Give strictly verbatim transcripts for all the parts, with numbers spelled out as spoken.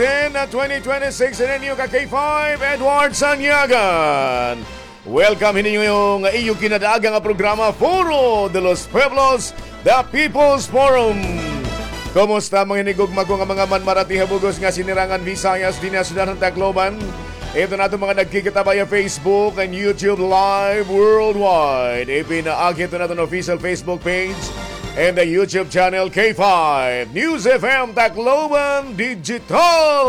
Ten na twenty twenty-six, ini an iyo ka K five, Edward Sanyagan. Welcome hini nga iyo kinadaaga nga programa, Foro de los Pueblos, The People's Forum. Kumusta mga hinigugma ko nga mga manmarati ha bug-os nga sinirangan Visayas, dinhi ha syudad han Tacloban? Ito na aton mga nagkikita via Facebook and YouTube live worldwide. Ipinaagi ito na aton official Facebook page and the YouTube channel K five News F M Tacloban Digital.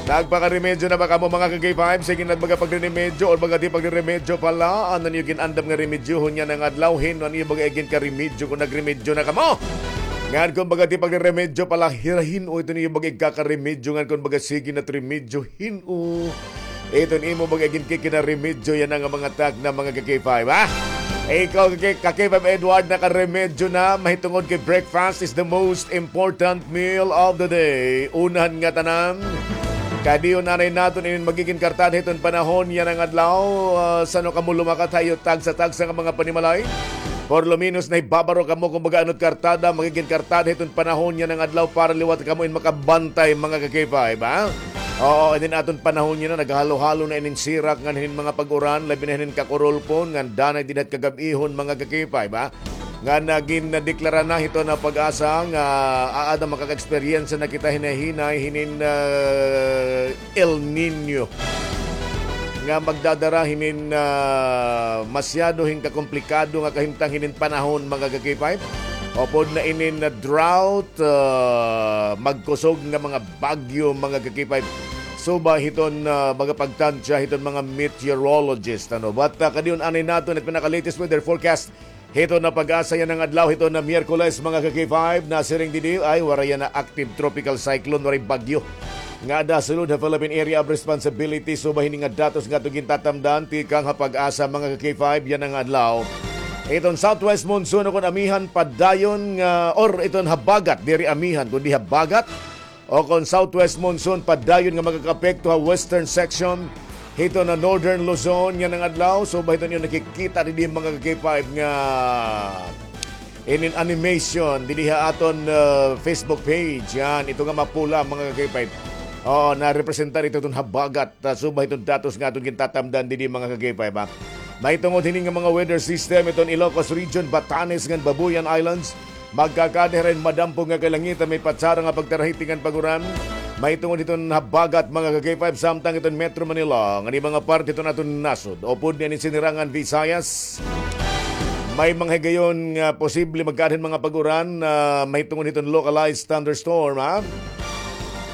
Nagpakaremedyo na ba kamo, mga ka-K five? Sige na, baga pagriremedyo or baga di pagriremedyo pala. Ano niyo gin-andam nga remedyohon yana nga adlaw? Hin-o an iyo baga iginkaremedyo kon nagremedyo na kamo? Ngan kon baga di pagriremedyo pala, hira hin-o ito niyo baga igkakaremedyo? Ngan kon baga sige na it remedyo, hin-o iton imo baga iginkikinaremedyo yana nga mga tagna, mga ka-K five, ha? Ikaw, ka-K-, ka-K five Edward, nakaremedyo na, mahitungod kay breakfast is the most important meal of the day. Unahan ngatanan, kadiyon anay naton inin magigin kartada hiton panahon yana nga adlaw, ah, san-o kamo lumakat ha iyo tagsa-tagsa nga mga panimalay. Por lo menos, nahibabaro kamo kon baga ano it kartada, magigin kartada hiton panahon yana nga adlaw para liwat kamo in makabantay, mga ka-K five, ha? Oo, inin aton panahon yana, naghalo-halo na inin sirak ngan hinin mga pag-uran, labi na hinin kakurulpon, ngan danay dinhi ha kagab-ihon, mga ka-K five, ha? Ngan, ah, gindeklara na hiton PAGASA nga aada makaka-eksperyensya na kita hinay-hinay hinin, ah, El Niño nga magdadara hinin, ah, masyado hin kakomplikado nga kahimtang hinin panahon, mga ka-K five. Upod na inin, ah, drought, ah, magkusog nga mga bagyo, mga ka-K five. Suba hiton, ah, mga pagtansya hiton mga meteorologist, ano. But, ah, kadiyon anay naton it pinaka-latest weather forecast hiton PAGASA yana nga adlaw, hiton Miyerkules, mga ka-K five, nasiring didi, ay, waray yana active tropical cyclone, waray bagyo nga aada ha sulod ha Philippine Area of Responsibility. Suba hini nga datos nga aton gintatamdan tikang ha PAGASA, mga ka-K five, yana nga adlaw. Iton southwest monsoon o kon amihan padayon nga, or iton habagat, diri amihan, kundi habagat, o kon southwest monsoon padayon nga makakaapekto ha western section hiton Northern Luzon yana nga adlaw. Suba hiton iyo nakikita didi, mga ka-K five, nga inin animation didi ha aton, ah, Facebook page. Yan, ito nga mapula, mga ka-K five. Oo, narepresentar ito iton habagat, ah, suba hiton datos nga aton gintatamdan didi, mga ka-K five, ha. Mahitungod hini nga mga weather system, iton Ilocos Region, Batanes ngan Babuyan Islands, magkakada hira hin madampog nga kalangitan, may patsara nga pagtarahiting ngan pag-uran. Mahitungod hiton habagat, mga ka-K five, samtang iton Metro Manila ngan mga parte hiton aton nasod, upod niyan hin sinirangan Visayas, may mga higayon nga posible magkaada hin mga pag-uran, ah, mahitungod hiton localized thunderstorm, ha?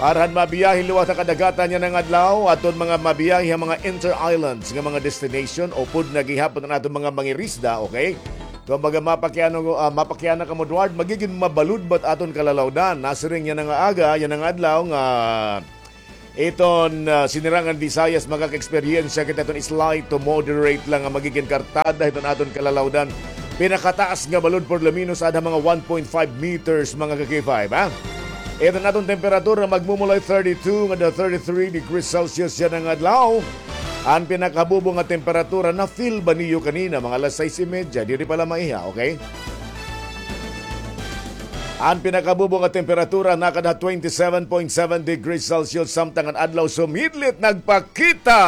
Para han mabiyahe liwat ha kadagatan yana nga adlaw, aton mga mabiyahe ha mga inter-islands nga mga destination, upod na gihapon an aton mga mangirisda, okay? Kumbaga, mapakiana, ah, mapakiana kamo, Edward, magigin mabaludbat aton kalalawdan. Nasiring yana nga aga, yana nga adlaw nga iton, ah, sinirangan Visayas, makaka-eksperyensya kita hiton slight to moderate lang nga magigin kartada hiton aton kalalawdan. Pinakataas nga balod por lo menos aada ha mga one point five meters, mga ka-K five, ha? Iton aton temperatura magmumulay thirty-two ngada thirty-three degrees Celsius yana nga adlaw. An pinakabubo nga temperatura, na-feel ba niyo kanina, mga alas sais y media? Diri pala maiha, okay? An pinakabubo nga temperatura nakada ha twenty-seven point seven degrees Celsius, samtang an adlaw sumidlit nagpakita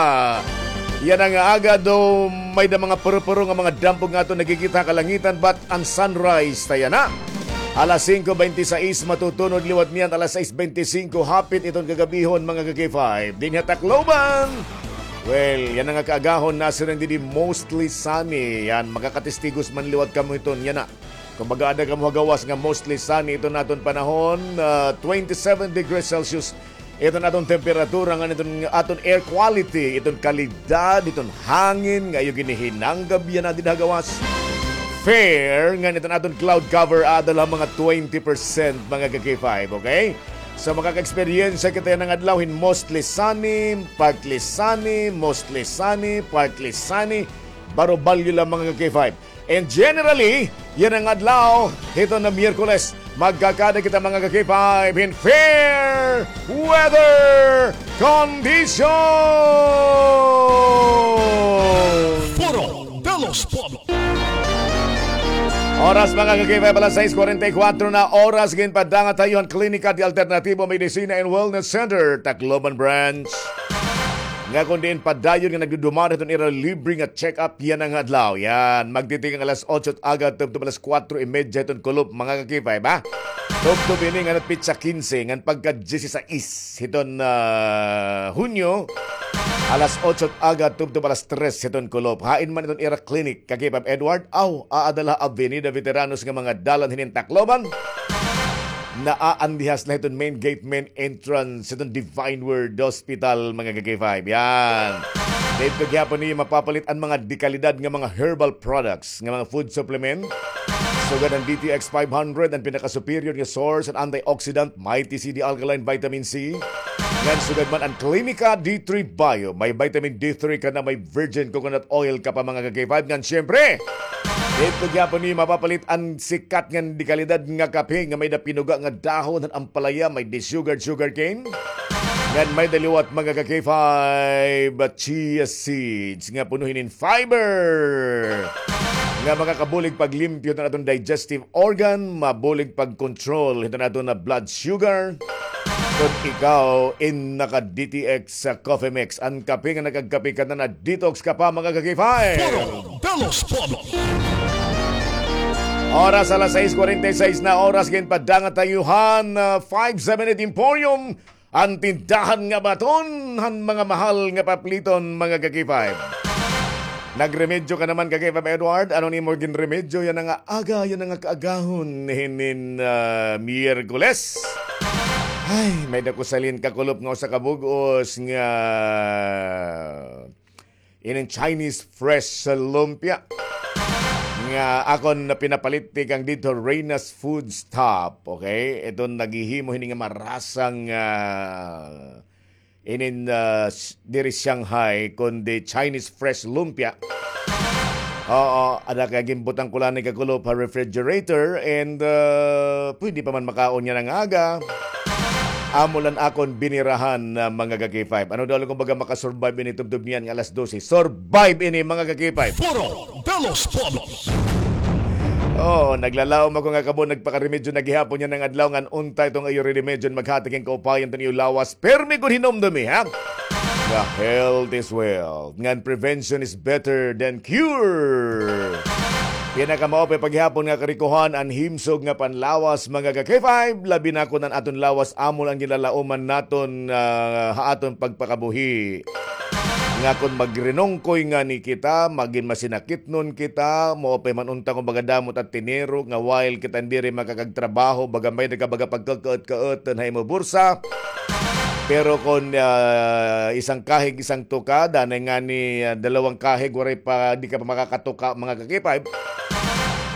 yana nga aga, though may-ada mga puro-puro nga mga dampog nga aton nakikita ha kalangitan, but an sunrise ta yana alas singko bente sais, matutunod liwat niyan alas sais bente singko, hapit iton kagab-ihon, mga ka-K five. Dinhi ha Tacloban, well, yana nga kaagahon, nasiring didi mostly sunny. Yan, makakatistigos man liwat kamo hiton yana. Kumbaga, aada kamo ha gawas nga mostly sunny iton aton panahon, ah, twenty-seven degrees Celsius iton aton temperatura, ngan iton aton air quality, iton kalidad hiton hangin nga iyo ginihinanggab yana dida ha gawas, fair, ngan iton aton cloud cover aada la ha mga twenty percent, mga ka-K five, okay? So, makaka-eksperyensya kita yana nga adlaw hin mostly sunny, partly sunny, mostly sunny, partly sunny, barobalyo la, mga ka-K five. And generally, yana nga adlaw hiton Miyerkules, magkakada kita, mga ka-K five, hin fair weather condition. Foro de los Pueblos. Oras, mga ka-K five, alas sais kuwarenta y kuwatro na oras. Ginpadangat ha iyo han Klinika de Alternativo Medicina and Wellness Center, Tacloban Branch, nga kon diin padayon nga nagdudumara hiton ira libre nga check-up yana nga adlaw. Yan, magtitikang alas otso aga tubtob alas kuwatro y medya hiton kulop, mga ka-K five, ha? Tubtob ini nga petsa kinse, ngan pagka diyesisais hiton, ah, Hunyo, alas otso aga tubtob alas tres hiton kulop. Hain man iton ira clinic, ka-K five Edward? Aw, aada la ha Avenida Veteranos nga mga dalan hinin Tacloban. Naaandihas la hiton main gate, main entrance hiton Divine Word Hospital, mga ka-K five. Yan. Didto gihapon niyo mapapalit an mga dekalidad nga mga herbal products, nga mga food supplement. Sugad han D T X five hundred, an pinaka-superior nga source han antioxidant, Mighty C D Alkaline Vitamin C. Ngan sugad man an Clinica D three Bio, may vitamin D three ka na, may virgin coconut oil ka pa, mga ka-K five. Ngan siyempre, didto gihapon niyo mapapalit an sikat ngan dekalidad nga kape nga may-ada pinuga nga dahon han ampalaya, may-ada sugar, sugar cane. Ngan may-ada liwat, mga ka-K five, chia seeds nga puno hinin fiber nga makakabulig paglimpyo hiton aton digestive organ, mabulig pag-control hiton aton nga blood sugar. Kon ikaw in naka-D T X sa coffee mix, an kape nga nakagkape ka na, na-detox ka pa, mga ka-K five. Puro de los Pueblos. Oras, alas sais kuwarenta y sais na oras. Ginpadangat ha iyo han, ah, five seven eight Emporium, an tindahan nga baton han mga mahal nga papliton, mga ka-K five. Nagremedyo ka naman, ka-K five Edward? Ano an imo ginremedyo yana nga aga, yana nga kaagahon hinin, ah, Miyerkules? Ay, may-ada ko salin kakulop nga usa ka bug-os nga inin Chinese fresh lumpia nga akon na pinapalit tikang didto Reyna's Food Stop, okay? Iton naghihimo hini nga marasang, ah, inin, ah, s-, diri Shanghai, kundi Chinese fresh lumpia. Oo, ada kay ginbutang ko la ini kakulop ha refrigerator and, ah, pwede pa man makaon yana nga aga. Amo la an akon binirahan, ah, mga ka-K five. Ano daw la kon baga makasurvive ini tubtob niyan nga alas dose? Survive ini, mga ka-K five. Puro de los Pueblos. Oh, naglalaom ako nga kamo nagpakaremedyo na gihapon yana nga adlaw, ngan unta iton iyo remedyo an maghati hin kaupayan hiton iyo lawas. Pirmi gud hinumdomi, ha? Nga health is wealth. Ngan prevention is better than cure. Pinakamaupay pa gihapon nga karikohan an himsog nga panlawas, mga ka-K five, labi na kon an aton lawas amo la an ginlalauman naton, ah, ha aton pagpakabuhi. Nga kon magrinungkoy ngani kita, magin masinakitnon kita, maupay man unta kon baga damo it tinirok, nga while kita diri makakagtrabaho, baga may-ada ka baga pagkakaut-kautun ha imo bursa. Pero kon, ah, isang kahig, isang tuka, danay ngani, ah, dalawang kahig, waray pa, di ka pa makakatuka, mga ka-K five.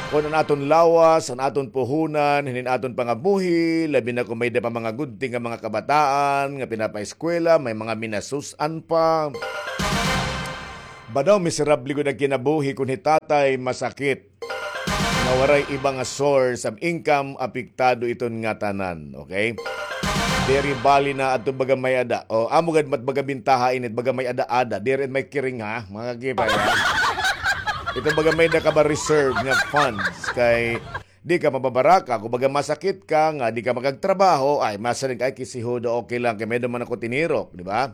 Kon an aton lawas, an aton puhunan, hinin aton pangabuhi, labi na kon may-ada pa mga gunting nga mga kabataan nga pinapaeskwela, may mga minasus-an pa. Ba daw, miserable gud an kinabuhi kon hi tatay masakit nga waray iba nga source of income, apektado iton ngatanan, okay? Diri bali na adto baga may-ada. O, amo gad mat baga bintaha ini, baga may-ada-ada. Diri may kiring, ha, mga ka-K five, ha? Ito baga may-ada ka ba reserve nga funds kay di ka mababaraka. Kon baga masakit ka nga di ka makagtrabaho, ay, masiring, "Ay, kisihudo, okay lang, kay may-ada man ako tinirok," di ba?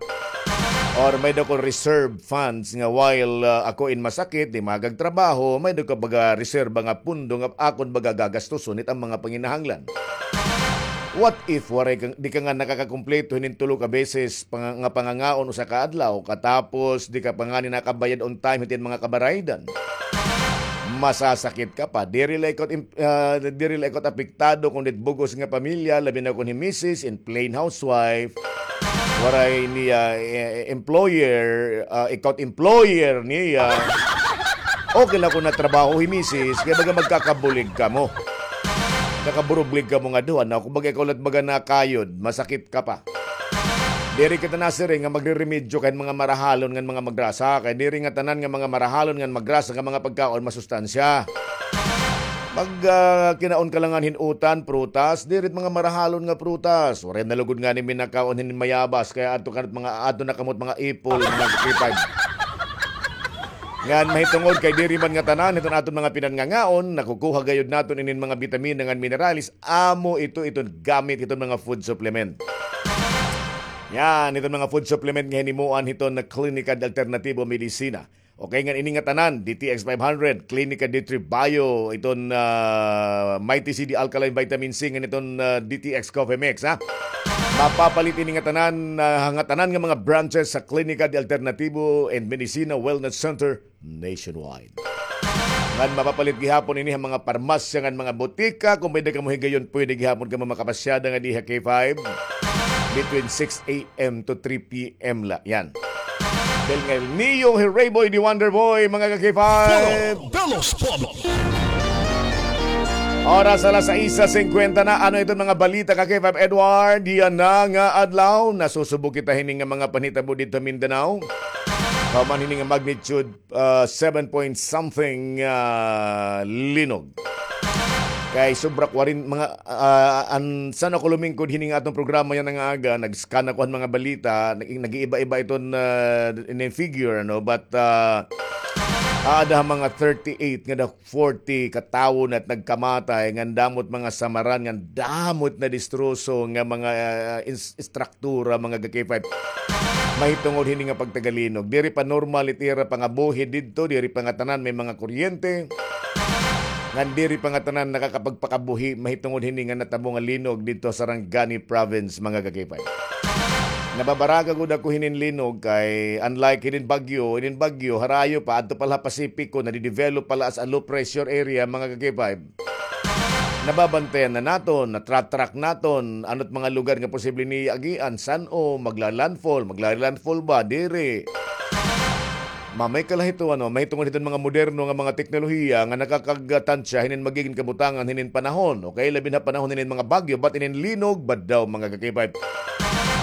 Or may-ada ko reserve funds nga while, ah, ako in masakit, di makagtrabaho, may-ada ko baga reserba nga pundo nga akon baga gagastuson hit an mga panginahanglan. What if waray ka, di ka nga nakakakumpleto hinin tulo ka beses panga-, nga pangangaon usa ka adlaw, katapos di ka pa ngani nakabayad on time hit imo mga kabaraydan? Masasakit ka pa. Diri la ikaw im-, ah, diri la ikaw apektado kon it bug-os nga pamilya, labi na kon hi misis in plain housewife. Waray niya, eh, employer, ah, ikaw employer niya. Okay la kon natrabaho hi misis, kay baga magkakabulig kamo. Nakaburublig kamo nga duha, na kon baga ikaw la it baga nakayod, masakit ka pa. Diri kita nasiring nga magreremedyo kan mga marahalon ngan mga magrasa, kay diri ngatanan nga mga marahalon ngan magrasa nga mga pagkaon masustansya. Mag, ah, kinaon ka la ngani hin utan, prutas, diri it mga marahalon nga prutas. Waray na lugod ngani minakaon hin mayabas, kay adto ka na it mga, adto na kamo it mga ipol, mga kipag. Ngan mahitungod kay diri man ngatanan hiton aton mga pinangangaon, nakukuha gayod naton inin mga bitamina ngan minerales, amo ito iton gamit hiton mga food supplement. Yan, iton mga food supplement nga hinimuan hiton na Klinika de Alternatibo Medisina. Okay, ngan ini ngatanan, D T X five hundred, Klinika de Tribayo, iton, ah, Mighty C D Alkaline Vitamin C, ngan iton, ah, D T X Coffee Mix, ha? Mapapalit ini ngatanan, ah, ngatanan nga mga branches sa Klinika de Alternatibo and Medicina Wellness Center nationwide. Ngan mapapalit gihapon ini ha mga parmasya ngan mga botika. Kon may-ada kamo higayon, pwede gihapon kamo makapasyada nga diha K five between six a m to three p m la. Yan. Del Nel Neo, Herrey Boy, the Wonder Boy, mga ka-K five. Foro de los Pueblos. Oras alas sais singkwenta na. Ano iton mga balita, ka-K five Edward? Yana nga adlaw, nasusubo kita hini nga mga panhitabo didto ha Mindanao. Human hini nga magnitude, ah, seven point something, ah, linog. Kay sobra kwarenta, mga, ah, an, san ako lumingkod hini nga aton programa yana nga aga, nag-scan ako han mga balita, nag-, nag-iiba-iba iton, ah, inin figure, ano, but, ah, aada ha mga thirty-eight ngada forty ka tawo na it nagkamatay, ngan damo it mga samaran, ngan damo it nadistroso nga mga, ah, ins-, istruktura, mga ka-K five. Mahitungod hini nga pagtagalinog. Diri pa normal it ira pangabuhi didto, diri pa ngatanan may mga kuryente. Ngan diri pa ngatanan nakakapagpakabuhi mahitungod hini nga natabo nga linog didto ha Sarangani Province, mga ka-K five. Nababaraka gud ako hinin linog kay unlike hinin bagyo, hinin bagyo, harayo pa, adto pa la ha Pasipiko, nadidevelop pa la as a low pressure area, mga ka-K five. Nababantayan na naton, natra-track naton, ano it mga lugar nga posible niya agian, san-o, magla-landfall, magla-landfall ba, diri. Mamay ka la hito, ano, mahitungod hiton mga moderno nga mga teknolohiya nga nakakagtansya hinin magigin kabutangan hinin panahon. Okay, labi na ha panahon hinin mga bagyo, but inin linog, badaw, mga ka-K five.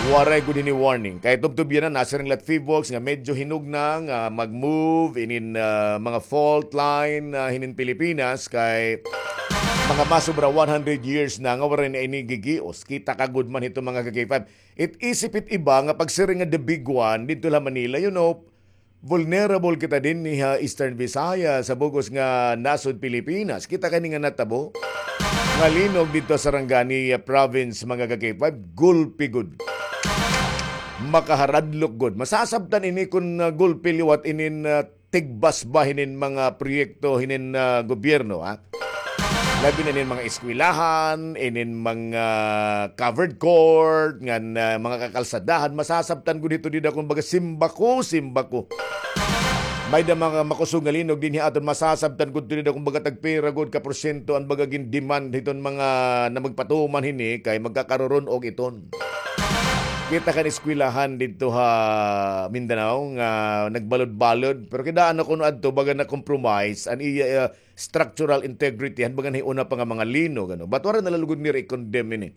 Waray gud hini warning. Kay tubtob yana, nasiring la it PHIVOLCS nga medyo hinugna nga mag-move inin, ah, mga fault line, ah, hinin Pilipinas kay mga masobra one hundred years na nga waray na ini gigios. Kita ka gud man hito, mga ka-K five. It isip it iba nga pagsiring nga the big one didto la Manila, you know, vulnerable kita dinhi ha Eastern Visayas, ha bug-os nga nasod Pilipinas. Kita ka ini nga natabo nga linog didto ha Sarangani, ah, province, mga ka-K five, gulpi gud. Makaharadlok gud. Masasabtan ini kon, ah, gulpi liwat inin, ah, tigbas ba hinin mga proyekto hinin, ah, gobyerno, ha? Labi na inin mga eskwelahan, inin mga covered court, ngan, ah, mga kakalsadahan, masasabtan gud hito dida, kumbaga, simbako, simbako. May-ada mga makusog nga linog dinhi ha aton, masasabtan gud hito dida, kumbaga, tagpira gud ka porsyento an baga gin-demand hiton mga na magpatuman hini kay magkakarurun-og iton. Kita kan eskwelahan didto ha Mindanao nga nagbalod-balod, pero kidaan na kuno adto baga na-compromise an iya, ah, structural integrity han baga nahiuna pa nga mga linog, ano. But waray na la lugod nira i-condemn ini.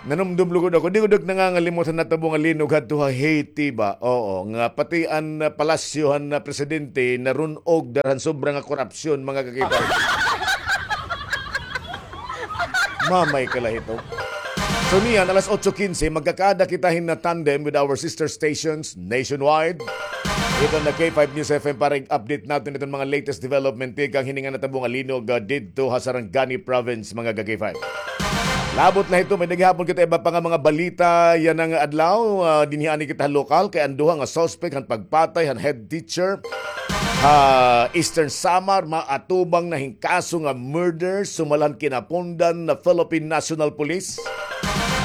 Nanumdom lugod ako, di ko gud nangangalimot han natabo nga linog hadto ha Haiti ba? Oo, nga pati an, ah, palasyo han, ah, presidente narun-og dara han sobra nga korupsyon, mga ka-K five. Mamay ka la hito. So niyan, alas otso kinse, magkakaada kita hin tandem with our sister stations nationwide. Ito na K five News F M para i-update naton iton mga latest development tikang hini nga natabo nga linog, ah, didto ha Sarangani Province, mga ka-K five. Labot na hito, may-ada gihapon kita iba pa nga mga balita yana nga adlaw. Ah, dinhi anay kita ha lokal kay an duha nga suspect han pagpatay han head teacher ha Eastern Samar, maatubang na hin kaso nga murder, sumala han kinapundan na Philippine National Police.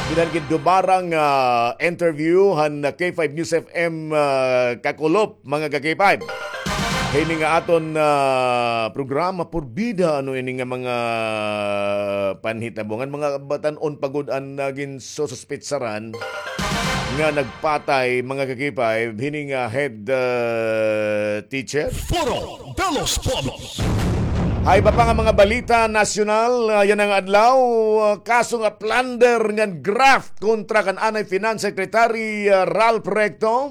Binan gin dumarang, ah, interview han K five News F M, ah, kakulop, mga ka-K five. Hini nga aton, ah, programa, purbida, ano, ini nga mga panhitabo ngan mga batan-on pa gud an nagin sususpetsaran nga nagpatay, mga ka-K five, hini nga head, ah, teacher. Foro de los Pueblos. Ha iba pa nga mga balita nasyonal, ah, yana nga adlaw, ah, kaso nga plunder ngan graft kontra kan anay Finance Secretary, ah, Ralph Recto.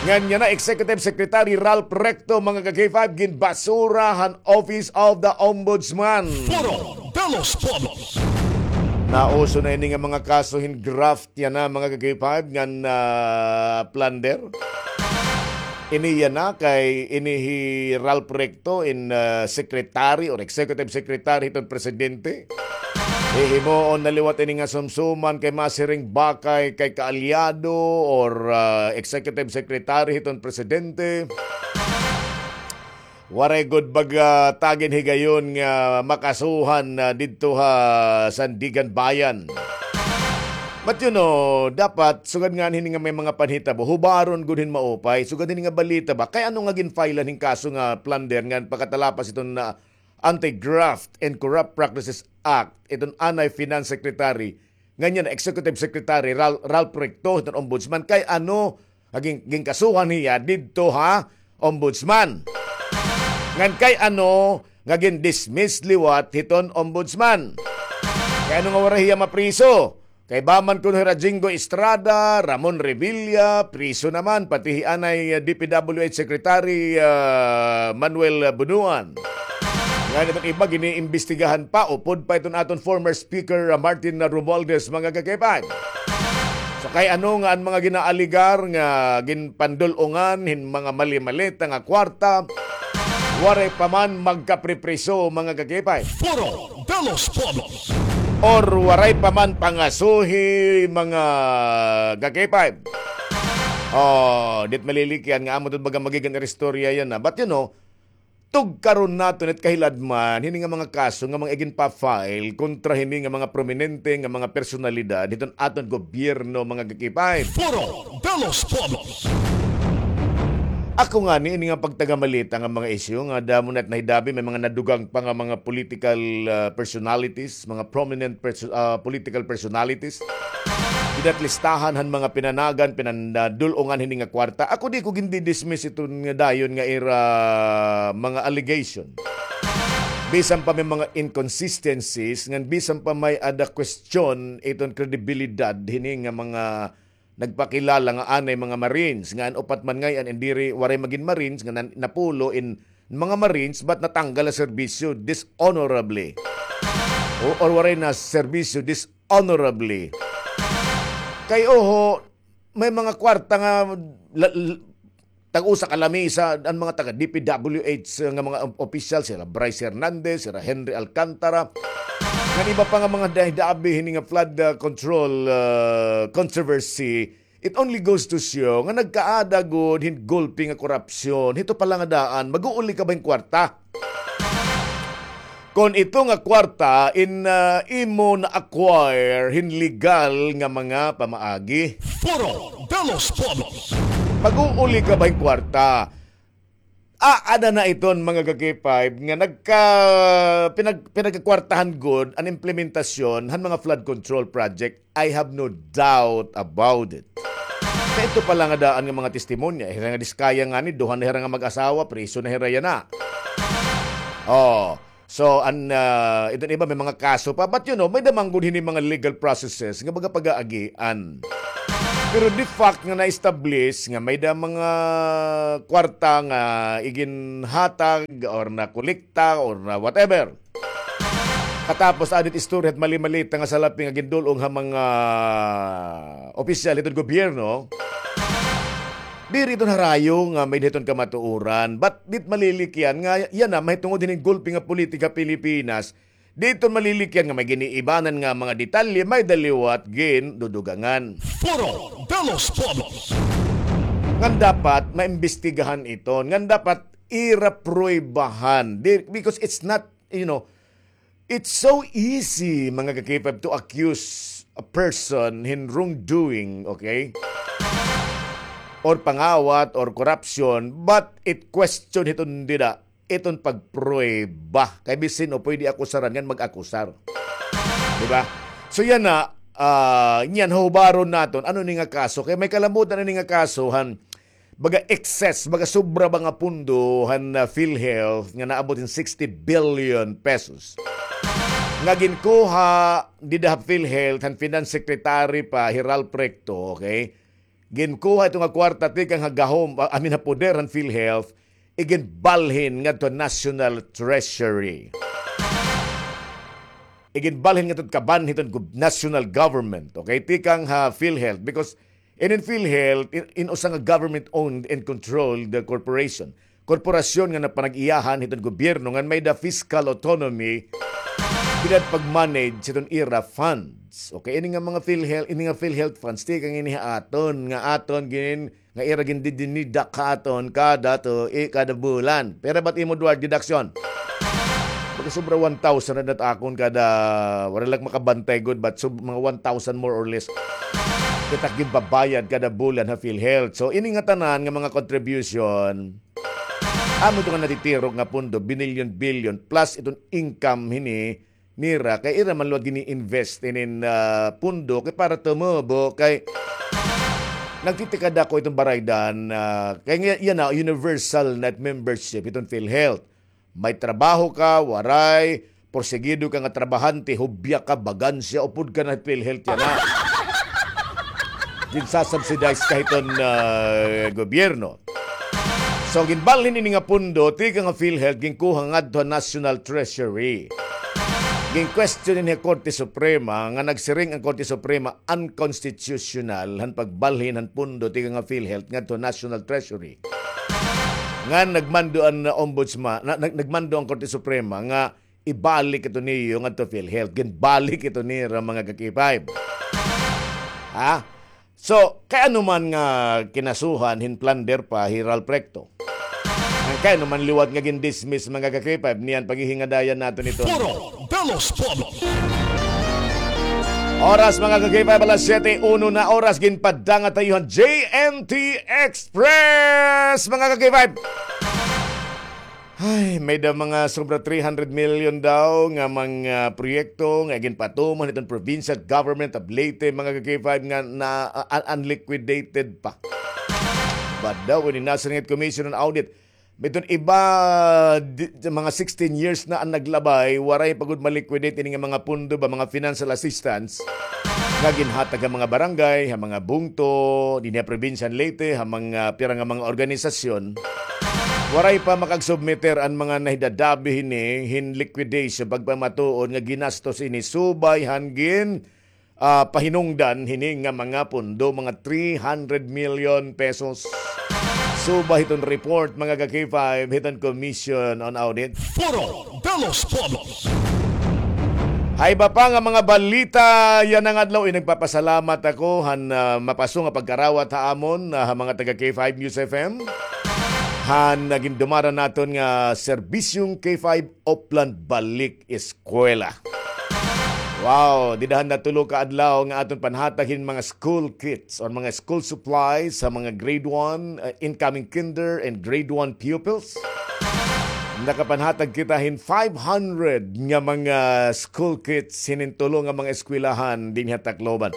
Ngan yana Executive Secretary Ralph Recto, mga ka-K five, ginbasura han Office of the Ombudsman. Foro de los Pueblos. Nauso na ini nga mga kaso hin graft yana, mga ka-K five, ngan, ah, plunder. Ini yana kay ini hi Ralph Recto in, ah, secretary or executive secretary hiton presidente. Hihimuon na liwat ini nga sumsuman kay masiring ba kay, kay kaalyado or, ah, executive secretary hiton presidente. Waray gud baga tagin higayon nga makasuhan, ah, didto ha Sandiganbayan. But you know, dapat sugad nga hini nga may mga panhitabo, hubaron gud hin maupay, sugad hini nga balita ba, kay ano nga ginfilean hin kaso nga plunder nga pakatalapas iton na Anti-Graft and Corrupt Practices Act, iton anay Finance Secretary, ngan yana Executive Secretary Ral-, Ralph Recto, iton Ombudsman, kay ano nga gin-, ginkasuhan hiya didto ha Ombudsman. Ngan kay ano nga gin-dismiss liwat hiton Ombudsman. Kay ano nga waray hiya mapriso? Kay ba man kuno hira Jingo Estrada, Ramon Revilla, priso naman, pati hi anay, ah, D P W H Secretary, ah, Manuel Bunuan. Ngan iton iba, giniimbestigahan pa, upod pa iton aton former speaker, ah, Martin Romualdez, mga kakipan. So, kay ano nga an mga ginaaligar nga ginpandul-ungan hin mga mali-maleta nga kwarta, waray pa man magkapripriso, mga kakipay. Foro de los Pueblos. Or waray pa man pangasuhi, mga kakipay. Oh, dit malilikyan nga amo ito baga magigan istorya yana. But you know, tugkaron naton it kahiladman hini nga mga kaso nga mga iginpa-file kontra hini nga mga prominente nga mga personalidad hiton aton gobyerno, mga kakipay. Foro de los Pueblos. Ako ngani, ini nga pagtagamalita nga mga isyu nga damo na it nahidabi, may mga nadugang pa nga mga political, ah, personalities, mga prominent perso-, ah, political personalities. Dida ha listahan han mga pinanagan, pinandul-ungan hini nga kwarta. Ako di ko gindidismiss iton nga dayon nga ira mga allegation. Bisan pa may mga inconsistencies, ngan bisan pa may-ada question iton kredibilidad hini nga mga nagpakilala nga anay mga Marines, nga an upat man ngay-an in diri waray magin Marines, nga nan-, napulo in mga Marines, but natanggal ha serbisyo dishonorably. O, or waray naserbisyo dishonorably. Kay oho, may mga kwarta nga la-, l-, tag-usa ka lamisa, an mga taga D P W H nga mga op-, opisyal, sira Bryce Hernandez, sira Henry Alcantara, ngan iba pa nga mga dahidabi hini nga flood, ah, control, ah, controversy. It only goes to show nga nagkaada gud hin gulpi nga korupsyon. Hito pa la nga daan, mag-uuli ka ba hin kwarta? Kon ito nga kwarta in, ah, imo na-acquire hin legal nga mga pamaagi. Foro de los Pueblos. Mag-uuli ka ba hin kwarta? Aada na iton mga ka-K five nga nagka-, pinag-, pinagkakwartahan gud an implementasyon han mga flood control project. I have no doubt about it. Kay ito pa la nga daan nga mga testimonya, hira nga Diskaya ngani, duha na hira nga mag-asawa, priso na hira yana. Oh, so, an, ah, iton iba may mga kaso pa. But, you know, may-ada man gud hini mga legal processes nga baga pag-aagian. Pero the fact nga na-establish nga may-ada mga kwarta nga iginhatag or nakolekta or na whatever. Katapos, aada it istorya hit mali-malita nga salapi nga gindul-ong ha mga opisyal hiton gobyerno. Diri iton harayo nga may-ada hiton kamatuoran. But dit malilikyan nga yana mahitungod hini nga gulpi nga politika Pilipinas. Di iton malilikyan nga may giniibanan nga mga detalye, may-ada liwat gindudugangan. Foro de los Pueblos. Ngan dapat maimbestigahan iton. Ngan dapat ira pruwebahan. Di, because it's not, you know, it's so easy, mga ka-K five, to accuse a person hin wrongdoing, okay? Or pangawat, or corruption, but it question hiton dida, iton pagpruweba. Kay bisan o pwede akusaran ngan mag-akusar. Di ba? So yana, ah, niyan, hubaron naton, ano ini nga kaso? Kay may kalamotan ini nga kaso, han, baga excess, baga sobra ba nga pondo han, ah, PhilHealth nga naabot hin sixty billion pesos. Nga ginkuha dida ha PhilHealth, han Finance Secretary pa, hi Ralph Recto, okay? Ginkuha ito nga kwarta tikang ha gahom, ah, I mean, ha poder han PhilHealth, iginbalhin ngadto ha National Treasury. Iginbalhin ngadto ha kaban hiton gov-, national government, okay? Tikang ha PhilHealth, because Inin PhilHealth, in, in usa nga government-owned and controlled corporation. Korporasyon nga napanag-iyahan hiton gobyerno ngan may-ada fiscal autonomy bidad pag-manage hiton ira funds. Okay, ini nga mga PhilHealth, ini nga PhilHealth funds, tikang ini ha aton, nga aton gin, nga ira gindidinidak ha aton kada to, eh, kada bulan. Pero ba't imo, Duarte, deduction? Baga sobra one thousand na dat akon kada, wala lang makabantay gud, but so, mga one thousand more or less. Kita ginbabayad kada bulan ha PhilHealth. So, ini nga tanan nga mga contribution, amo ito nga natitirok nga pondo, binilyon-bilyon, plus iton income hini nira, kay ira man liwat gini-invest inin, ah, pondo, kay para tumubo, kay nagtitikada ko iton baraydan, ah, kay nga, yan na, universal na membership iton PhilHealth. May trabaho ka, waray, porsigido ka nga trabahante, hubya ka, bagansya, upod ka na PhilHealth yana. Ginsasubsidize ka hiton, ah, gobyerno. So, ginbalhin ini nga pondo, tikang ha PhilHealth, ginkuha ngadto ha National Treasury. Gin-question ini ha Korte Suprema, nga nagsiring an Korte Suprema, unconstitutional, han pagbalhin han pondo, tikang ha PhilHealth, ngadto ha National Treasury. Nga nagmando an, uh, ombudsman, na, nag-, nagmando an Korte Suprema nga ibalik ito niyo ngadto PhilHealth. Ginbalik ito nira, mga ka-K five. Ha? So, kay ano man nga kinasuhan hin plunder pa hi Ralph Recto? Kay ano man liwat nga gin-dismiss, mga ka-K five, niyan paghihingadayan naton ito. Foro de los Pueblos. Oras, mga ka-K five, alas siyete uno na oras, ginpadanga tayo han J N T Express, mga ka-K five. Ay, may-ada mga sobra three hundred million daw nga mga proyekto nga ginpatuman hiton Provincial Government of Leyte, mga ka-K five, nga na, uh, un-, unliquidated pa. But daw, ini National Commission on Audit, may iton iba, di, mga sixteen years na an naglabay, waray pa gud ma-liquidate ini nga mga pondo ba, mga financial assistance nga ginhatag ha mga barangay, ha mga bungto, dinhi ha probinsya han Leyte, ha mga pira nga mga organisasyon. Waray pa makag-submiter an mga nahidadabi hini hin liquidation, pagpamatuod nga ginastos ini subay han gin, ah, pahinungdan hini nga mga pondo, mga three hundred million pesos. Subay hiton report, mga ka-K five, hiton Commission on Audit. Foro de los Pueblos. Ha iba pa nga mga balita yana nga adlaw, eh, nagpapasalamat ako han, ah, mapaso nga pagkarawat ha amon, ah, ha mga taga K five News F M. Han, ah, gindumaran naton nga serbisyong K five Oplan Balik Eskwela. Wow, dida han natulo ka adlaw nga aton panhatag hin mga school kits or mga school supplies ha mga grade one, uh, incoming kinder and grade one pupils. Nakapanhatag kita hin five hundred nga mga school kits hinin tulo nga mga eskwelahan dinhi ha Tacloban.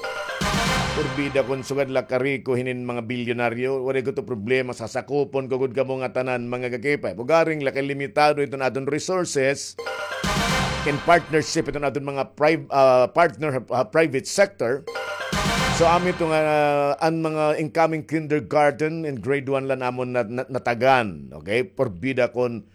Porbida kon sugad la kariko hinin mga bilyonaryo, waray ko to problema, sasakupon ko gud kamo nga tanan, mga ka-K five. Ugaring la kay limitado iton aton resources in partnership iton aton mga priv-, ah, partner, ah, private sector. So, amo ito nga, ah, an mga incoming kindergarten and grade one la namon na, na, natagan. Okay? Porbida kon